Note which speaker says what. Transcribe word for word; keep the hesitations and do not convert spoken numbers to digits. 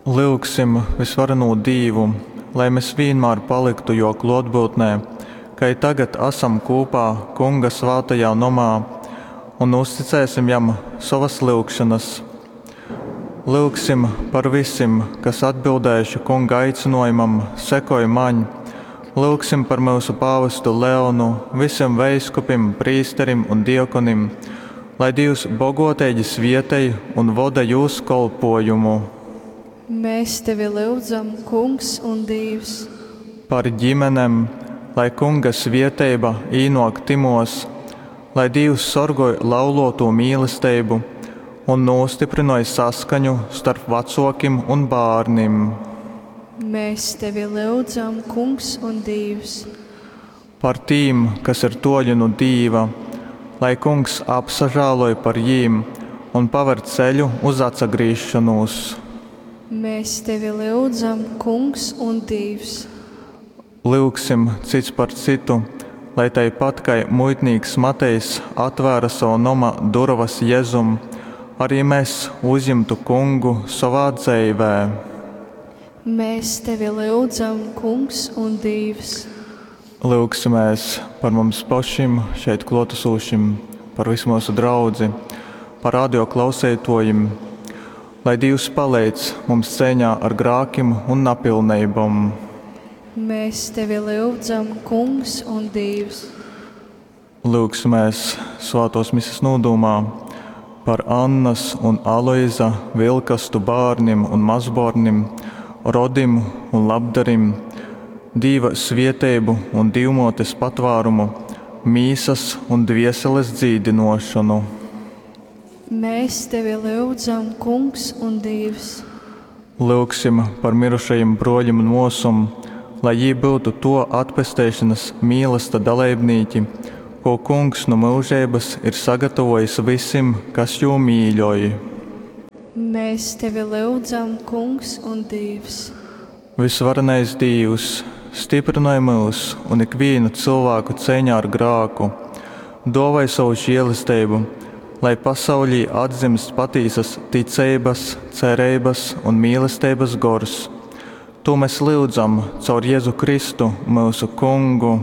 Speaker 1: Lyugsim Vysvarenū Dīvu, lai mes vīnmār palyktu Jō klōtbyutnē, kai tagad asam kūpā Kunga svātajā nomā, un uzticēsim Jam sovas lyugšonas. Lyugsim par vysim, kas atbildējuši Kunga aicynōjumam: Sekoj Maņ! Lyugsim par myusu pāvestu Leonu, vysim veiskupim, prīsterim un diakonim, lai Dīvs bogōteigi svietej un voda jūs kolpōjumu.
Speaker 2: Mēs tevi lyudzam, Kungs un Dīvs!
Speaker 1: Par ģimenem, lai Kunga svieteiba īnōk tymōs, lai Dīvs sorgoj laulōtū mīlesteibu un nūstyprynoj saskaņu storp vacōkim un bārnim.
Speaker 2: Mēs tevi lyudzam, Kungs un Dīvs!
Speaker 1: Par tīm, kas ir tōļi nu Dīva, lai Kungs apsažāloj par jīm un paver ceļu uz atsagrīzšonūs.
Speaker 2: Mēs tevi lyudzam, Kungs un Dīvs!
Speaker 1: Lyugsim cyts par cytu, lai taipat kai muitnīks Matejs atvēra sova noma durovas Jezum, ari mes uzjimtu Kungu sovā dzeivē.
Speaker 2: Mēs tevi lyudzam, Kungs un Dīvs!
Speaker 1: Lyugsimēs par mums pašim šeit klōtasūšim, par visu myusu draudzi, par radio klauseitōjim, lai Dīvs paleidz mums ceiņā ar grākim un napilneibom.
Speaker 2: Mēs tevi lyudzam, Kungs un Dīvs!
Speaker 1: Lyugsimēs svātōs mises nūdūmā par Annas un Aloiza Vilkastu bārnim un mazbōrnim, rodim un labdarim, Dīva svieteibu un Dīvmōtes patvārumu, mīsas un dvieseles dzīdynōšonu.
Speaker 2: Mēs tevi lyudzam, Kungs un Dīvs!
Speaker 1: Lyugsim par mirušajim brōļim un mōsom, lai jī byutu tō atpesteišonas mīlasta daleibnīki, kū Kungs nu myužeibas ir sagatavōjis vysim, kas jū mīļoj.
Speaker 2: Mēs tevi lyudzam, Kungs un Dīvs!
Speaker 1: Vysvarenais Dīvs, styprynoj myus un ikvīnu cylvāku ceiņā ar grāku, dōvoj sovu želesteibu, lai pasauļī atdzimst patīsas ticeibas, cereibas un mīlesteibas gors. Tū mes lyudzam caur Jezu Kristu, myusu Kungu.